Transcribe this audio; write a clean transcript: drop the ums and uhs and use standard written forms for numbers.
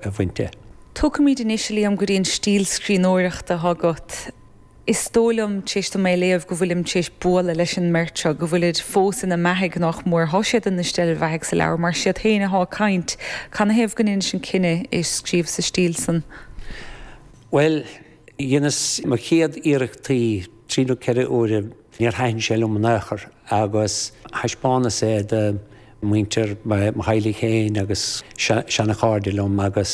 A bhaint de. Tógfaimid anois, a Liam, go dtí an stíl scríbhneoireachta atá agat. Is dóigh liom, tar éis dom é a léamh, go bhfuilim tar éis bualadh leis an mbeirt seo, go bhfuilid fós ina mbeathaidh, nach mór. Thá siad ina steillbheathaidh sa leabhar, mar siad féin athá ag caint. Canathaobh go ndeinis an cinneadh é scríobh sa stíl san? Bhuel, dheineas mo chéad iarrachtaí trí nó 4 huaire, níor thaitin sé liom in aon chor agus thaispeánas é do mhuintir mo theaghlaigh féin agus seana-chairde liom agus.